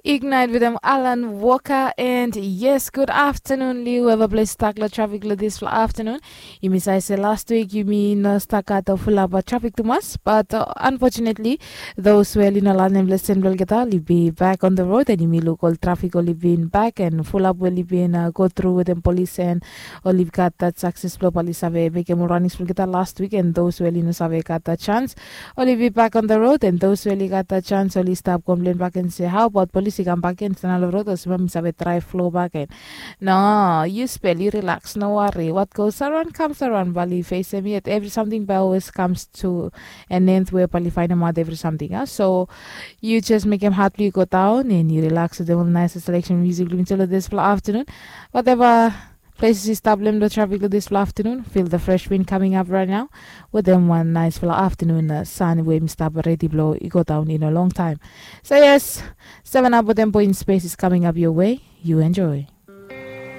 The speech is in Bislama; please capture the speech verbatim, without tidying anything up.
Ignite wetem Alan Walker. And yes, good afternoon liu eva ples stak long trafik long dispela afternoon. Yumi save se last week yumi no stak gat fulap trafik tumas, but uh, unfortunately those we oli no lanem lesen bilong olgeta oli bin back on the road, and yumi luk ol trafik oli bin back and fulap we oli bin uh, go through wetem polis and oli gat that success bilong oli save mekim ol running bilong olgeta last week. And those we oli no save gat that chance, oli bin back on the road, and those we oli gat that chance oli stap complain back and say, how about polis i kam back and stand long road, olsem mi save try flow back and no, you spel, you relax, no worry. What goes around comes around, bali facem yet. Every something by always comes to an end where bali find out every something. Huh? So you just make him heart go down and you relax with the nice selection music. This for afternoon. Whatever places you stop them the traffic this for afternoon. Feel the fresh wind coming up right now. With them one nice for afternoon uh, sun where mi stop ready blow. You go down in a long time. So yes, seven up with them point space is coming up your way. You enjoy.